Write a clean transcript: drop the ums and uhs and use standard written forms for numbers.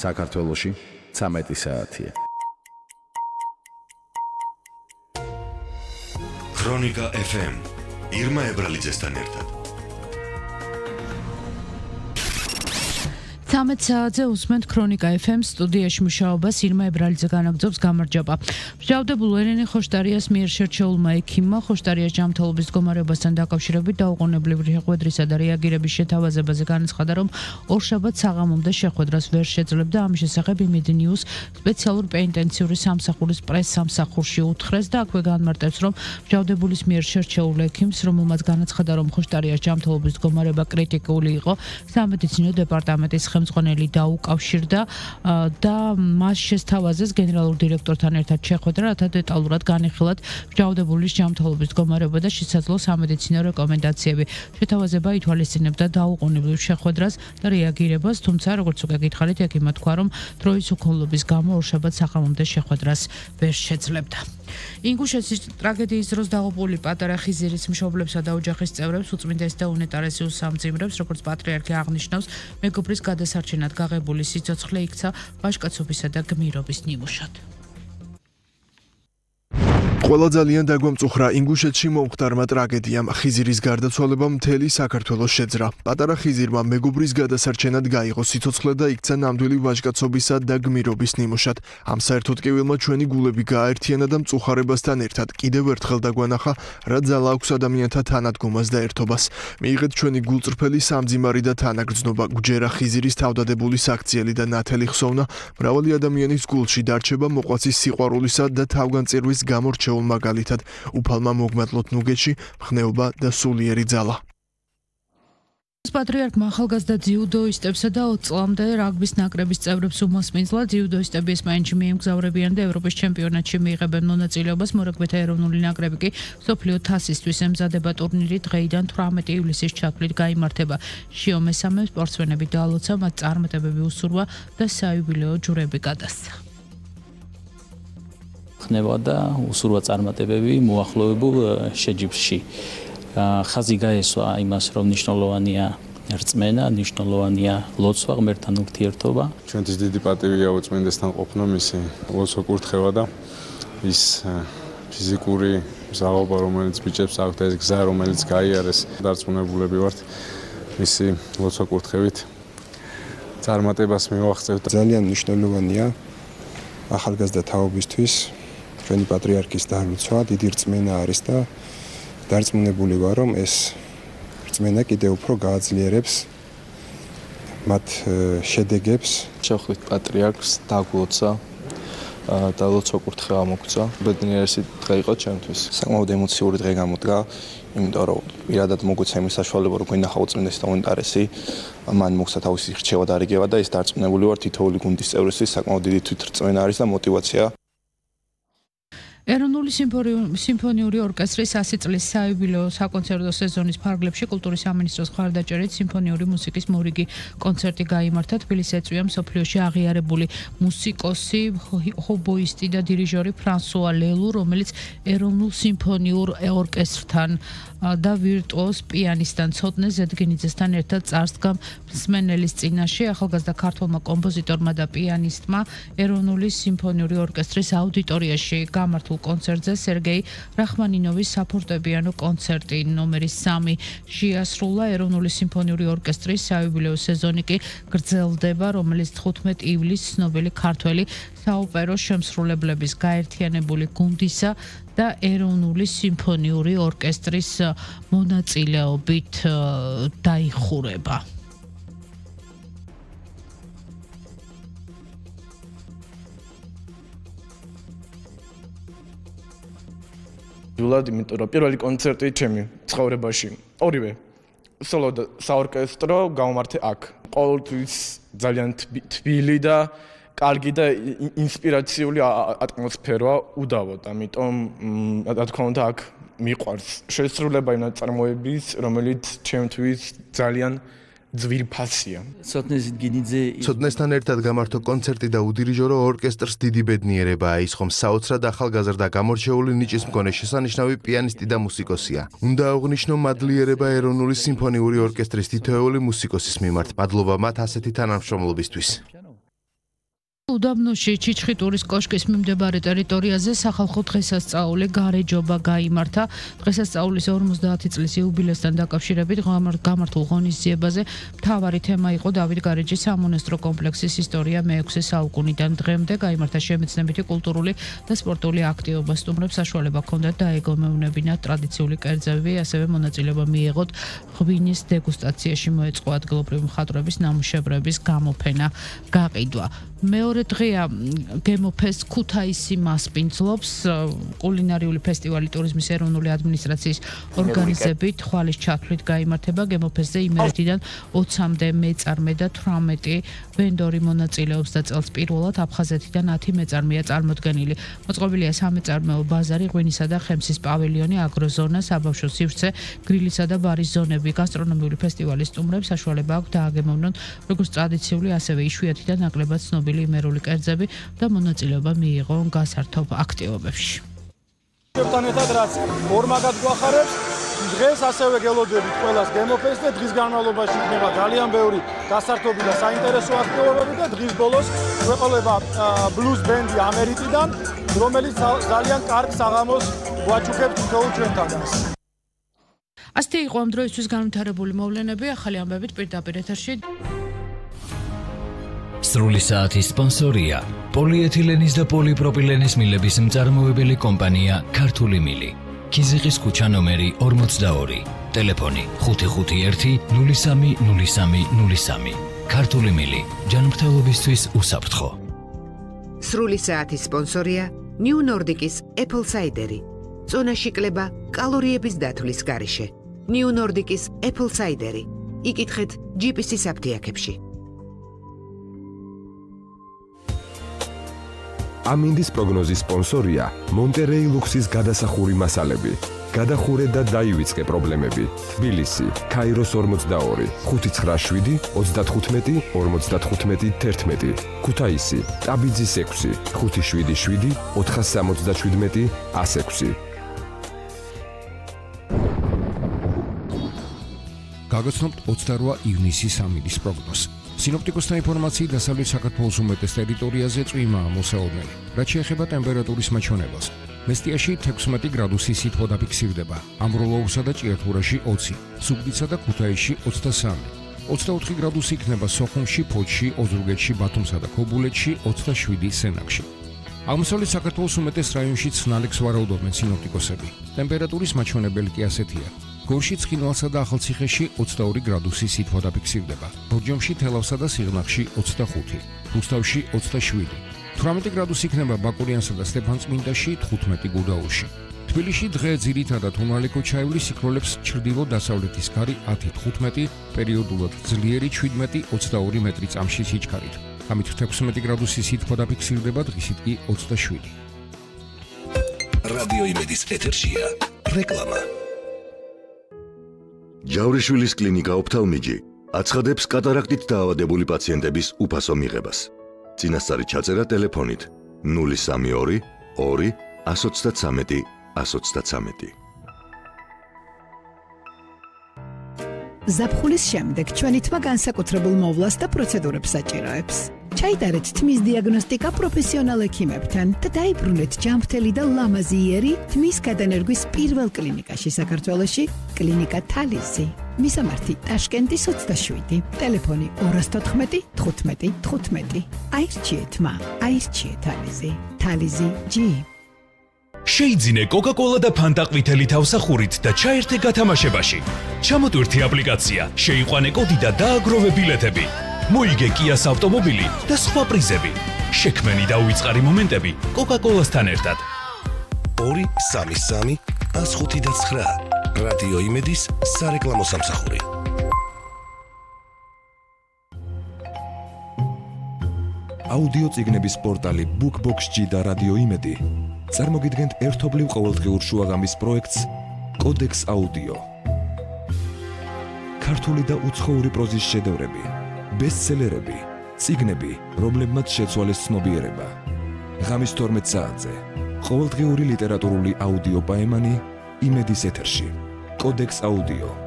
საქართველოში 13 საათია. ქრონიკა FM ირმა ებრალიძესთან ერთად. 13 საათზე უსმენთ ქრონიკა FM სტუდიაში მუშაობას ირმა ებრალიძე განაგრძობს გამარჯობა. მსჯავრდებულ ელენე ხოშტარიას მიერ შერჩეულმა ექიმმა ხოშტარიას ჯანმრთელობის მდგომარეობასთან დაკავშირებით დაუყოვნებლივი შეხვედრისა და რეაგირების შეთავაზებაზე განაცხადა, რომ ორშაბათს საღამომდე შეხვედრას ვერ შეძლებდა. ამის შესახებ იმედნიუს სპეციალურ პენიტენციური სამსახურის პრეს-სამსახურში უთხრეს და აქვე განმარტებს, რომ მსჯავრდებულის მიერ შერჩეულ ექიმს, რომელმაც განაცხადა, რომ ხოშტარიას ჯანმრთელობის მდგომარეობა კრიტიკული იყო, სამედიცინო დეპარტამენტის ხელმძღვანელი დაუკავშირდა და მას შესთავაზეს გენერალურ დირექტორთან ერთად შეხვედრა, რათა დეტალურად განიხილათ მსჯავრდებულის ჯანმრთელობის მდგომარეობა და შესაძლო სამედიცინო რეკომენდაციები. შეთავაზება ითვალისწინებდა დაუყოვნებლივ შეხვედრას და რეაგირებას, თუმცა როგორც უკვე გითხარით, ექიმმა თქვა, რომ დროის უქონლობის გამო ორშაბათს საღამომდე შეხვედრას ვერ შეძლებდა. ინგუშეთის ტრაგედიის დროს დაღუპული პატარა ხიზირის მშობლებსა და ოჯახის წევრებს უწმინდეს და უნეტარესი უსამძიმრებს, როგორც პატრიარქი აღნიშნავს, მეგობრის გადასარჩენად გაღებული სიცოცხლე იქცა ვაჟკაცობისა და გმირობის ნიმუშად. ყველა ძალიან დაგვამწუხრა ინგუშეთში მომხდარმა ტრაგედიამ. ხიზირის გარდაცვალებამ მთელი საქართველოს შეძრა. პატარა ხიზირმა მეგობრის გადასარჩენად გაიღო სიცოცხლე და იქცა ნამდვილი ვაჟკაცობისა და გმირობის ნიმუშად. ამ საერთოდ კივილმა ჩვენი გულები გააერთიანა და მწუხარებასთან ერთად კიდევ ერთხელ დაგვანახა, რა ძალა აქვს ადამიანთა თანადგომას და ერთობას. მიიღეთ ჩვენი გულწრფელი სამძიმარი და თანაგრძნობა. გვჯერა ხიზირის თავდადებული საქციელი და ნათელი ხსოვნა მრავალი ადამიანის გულში დარჩება მოყვაცის სიყვარულისა და თავგანწირვის გამორჩეულ მაგალითად უფალმა მოგმატლოთ ნუგეთში ხნეობა და სულიერი ძალა. პატრიარქმა ახალგაზრდა ძიუდოისტებსა და 20 წლამდე რაგბის ნაკრების წევრებს უმასპინძლა. ძიუდოისტები ესპანეთში მიემგზავრებიან და ევროპის ჩემპიონატში მიიღებენ მონაწილეობას. მორაგბეთა ეროვნული ნაკრები კი მსოფლიო თასისთვის ემზადება. ტურნირი დღეიდან 18 ივლისის ჩათვლით გაიმართება. შიო მესამე სპორტსმენები დაალოცა, მათ წარმატებები უსურვა და საიუბილეო ჯვრები გადასცა. ხნება და უსურვა წარმატებები მოახლოებულ შეჯიბრში. ხაზი გაესვა იმას, რომ მნიშვნელოვანია რწმენა, მნიშვნელოვანია ლოცვა, ღმერთთან ურთიერთობა. ჩვენთვის დიდი პატივია უწმინდესთან ყოფნა, მისი ლოცვა კურთხევა და ის ფიზიკური მზაობა, რომელიც ბიჭებს აქვს და ეს გზა, რომელიც გაიარეს, დარწმუნებულები ვართ მისი ლოცვა კურთხევით წარმატებას მივაღწევთ. ძალიან მნიშვნელოვანია ახალგაზრდა თაობისთვის ჩვენი პატრიარქის დალოცვა, დიდი რწმენა არის და დარწმუნებული ვარ, რომ ეს რწმენა კიდევ უფრო გააძლიერებს მათ შედეგებს. შევხვდით პატრიარქს, დაგლოცა და ლოცვა კურთხევა მოგცა. ბედნიერესი დღე იყო ჩემთვის. საკმაოდ ემოციური დღე გამოდგა, იმიტომ რომ პირადად მოგვეცა იმის საშუალება, რომ გვინახა უწმინდესი და უნეტარესი, მან მოგცა თავისი რჩევა და რიგება და ის დარწმუნებული ვარ, თითოეული გუნდის წევრისთვის საკმაოდ დიდი თვითრწმენა არის და მოტივაცია. ეროვნული სიმფონიური ორკესტრის 100 წლის საიუბილეო საკონცერტო სეზონის ფარგლებში კულტურის სამინისტროს მხარდაჭერით სიმფონიური მუსიკის მორიგი კონცერტი გაიმართა. თბილისს ეწვია მსოფლიოში აღიარებული მუსიკოსი, ჰობოისტი და დირიჟორი ფრანსუა ლელუ, რომელიც ეროვნულ სიმფონიურ ორკესტრთან და ვირტუოზ პიანისტთან ცოტნე ზედგინიძესთან ერთად წარსდგა მსმენელის წინაშე. ახალგაზრდა ქართველმა კომპოზიტორმა და პიანისტმა ეროვნული სიმფონიური ორკესტრის აუდიტორიაში გამართულ კონცერტზე სერგეი რახმანინოვის საფორტეპიანო კონცერტი ნომერი 3 შეასრულა. ეროვნული სიმფონიური ორკესტრის საიუბილეო სეზონი კი გრძელდება, რომელიც 15 ივლისს ცნობილი ქართველი საოპერო შემსრულებლების გაერთიანებული გუნდისა და ეროვნული სიმფონიური ორკესტრის მონაწილეობით დაიხურება. ვლად, იმიტომ რომ პირველი კონცერტი ჩემი ცხოვრებაში, ორივე სოლო და საორკესტრო გავმართე აქ. ყოველთვის ძალიან თბილი და კარგი და ინსპირაციული ატმოსფერო უდავოდ, ამიტომ რა თქმა უნდა აქ მიყვარს შესრულება იმ ნაწარმოების, რომელიც ჩემთვის ძალიან ძვირფასია. ცოტნესთან ერთად გამართო კონცერტი და უდირიჟორო ორკესტრს დიდი ბედნიერებაა ის, ხომ საოცრად ახალგაზრდა გამორჩეული ნიჭის მქონე შესანიშნავი პიანისტი და მუსიკოსია. უნდა აღვნიშნო მადლიერება ეროვნული სიმფონიური ორკესტრის თითოეული მუსიკოსის მიმართ. მადლობა მათ ასეთი თანამშრომლობისთვის. უდაბნოში ჩიჩხიტურის კოშკის მიმდებარე ტერიტორიაზე სახალხო დღესასწაული გარეჯობა გაიმართა. დღესასწაულის 50 წლის იუბილესთან დაკავშირებით გამართულ ღონისძიებაზე მთავარი თემა იყო დავით გარეჯის სამონასტრო კომპლექსის ისტორია მე-6 საუკუნიდან დღემდე. გაიმართა შემეცნებითი, კულტურული და სპორტული აქტივობა. სტუმრებს საშუალება ჰქონდათ დაეგომევნებინათ ტრადიციული კერძები, ასევე მონაწილეობა მიეღოთ ღვინის დეგუსტაციაში, მოეწყო ადგილობრივი მხატვრების ნამუშევრების გამოფენა, გაყიდვა. მეორე დღეა გემოფეს ქუთაისი მასპინძლობს კულინარიული ფესტივალი ტურიზმის ეროვნული ადმინისტრაციის ორგანიზებით ხვალის ჩათვლით გაიმართება. გემოფესზე იმერეთიდან 20-მდე მეწარმე და 18 ვენდორი მონაწილეობს და წელს პირველად აფხაზეთიდან 10 მეწარმეა წარმოდგენილი. მოწყობილია სამეწარმეო ბაზარი, ღვინისა და ხემსის პავილიონი, აგროზონა, საბავშვო სივრცე, გრილისა და ბარის ზონები. გასტრონომიული ფესტივალის სტუმრებს საშუალება აქვს დააგემოვნონ როგორც ტრადიციული, ასევე იშვიათი და ნაკლებად ცნობილი იმერული კერძები და მონაწილეობა მიიღონ გასართობ აქტივობებში. ერთთან ერთად რაც ორმაგად გვახარებს, დღეს ასევე გელოდებთ ყველას გემოფეს და დღის განმავლობაში იქნება ძალიან ბევრი გასართობი და საინტერესო აქტივობები და დღის ბოლოს გვეყოლება ბლუზ ბენდი ამერიკიდან, რომელიც ძალიან კარგ საღამოს გვაჩუქებს თითოეულ ჩვენთანაც. ასეთი იყო ამ დროისთვის განვითარებული მოვლენები. ახალი ამბებით პირდაპირ ეთერში. სრული საათის სპონსორია პოლიეთილენის და პოლიპროპილენის მილების მწარმოებელი კომპანია ქართული მილი. ქიზიყის ქუჩა ნომერი 42, ტელეფონი 551 030303. ქართული მილი, ჯანმრთელობისთვის უსაფრთხო. სრული საათის სპონსორია New Nordic-ის Apple Cider-ი. წონაში კლება კალორიების დათვლის გარეშე. New Nordic-ის Apple Cider-ი. იკითხეთ GPS-ის აფთიაქებში. ამინდის პროგნოზის სპონსორია მონტერეი ლუქსის გადასახური მასალები. გადახურე და დაივიწყე პრობლემები. თბილისი, ქაიროს 42, 597 35 55 11. ქუთაისი, ტაბიძის 6, 577 477 106. გაგაცნობთ 28 ივნისის ამინდის პროგნოზს. სინოპტიკოსთა ინფორმაციით დასავლეთ საქართველოს უმეტეს ტერიტორიაზე წვიმაა მოსაოდნელი. რაც შეეხება ტემპერატურის მაჩვენებელს, მესტიაში 16 გრადუსი სითბო დაფიქსირდება, ამბროლოურსა და ჭიათურაში 20, ზუგდიდსა და ქუთაისში 23, 24 გრადუსი იქნება სოხუმში, ფოთში, ოზურგეთში, ბათუმსა და ქობულეთში, 27 სენაკში. აღმოსავლეთ საქართველოს უმეტეს რაიონში ცნალებს ვარაუდობენ სინოპტიკოსები. ტემპერატურის მაჩვენებელი კი ასეთია. გორში, ცხინვალსა და ახალციხეში 22 გრადუსი სითბო დაფიქსირდება. ბორჯომში, თელავსა და სიღნაღში 25, რუსთავში 27, 18 გრადუსი იქნება ბაკურიანსა და სტეფანწმინდაში, 15 გუდაუთში. თბილისში დღე ძირითადად უმრავლე ჩაივლის სიქროლებს ჩრდილო-დასავლეთის ქარი 10-15, პერიოდულად ძლიერი 17-22 მეტრი წამში სიჩქარით. ამით 16 გრადუსი სითბო დაფიქსირდება, დღისით კი 27. რადიო იმედის ეთერშია რეკლამა. ჯავრიშვილის კლინიკა ოფთალმიჯი აცხადებს კატარაქტით დაავადებული პაციენტების უფასო მიღებას. წინასწარი ჩაწერა ტელეფონით 032 2 133 133. ზაფხულის შემდეგ ჩვენი თმა განსაკუთრებულ მოვლას და პროცედურებს საჭიროებს. ჩაიტარეთ თმის დიაგნოსტიკა პროფესიონალ ექიმებთან და დაიბრუნეთ ჯანმრთელი და ლამაზი იერი თმის გადანერგვის პირველ კლინიკაში საქართველოში, კლინიკა თალიზი. მისამართი ტაშკენტის 27, ტელეფონი 214 15 15. აირჩიეთ თმა, აირჩიეთ თალიზი. თალიზი G. შეიძინე კოკა-კოლა და ფანტა ყვითელი თავსახურით და ჩაერთე გათამაშებაში. ჩამოტვირთი აპლიკაცია, შეიყვანე კოდი და დააგროვე ბილეთები. მოიგე კიას ავტომობილი და სხვა პრიზები. შექმენი და უიწყარი მომენტები კოკა-კოლასთან ერთად. 233 159 რადიო იმედის სარეკლამო სამსახური. აუდიო წიგნების პორტალი BookBox-G და რადიო იმედი წარმოგიდგენთ ერთობლივ ყოველდღიურ შუაღამის პროექტს კოდექს აუდიო. ქართული და უცხოური პროზის შედევრები, ბესტსელერები, წიგნები, რომლებმაც შეცვალეს ცნობიერება. ღამის 12 საათზე ყოველდღიური ლიტერატურული აუდიო პაემანი იმედის ეთერში. კოდექს აუდიო.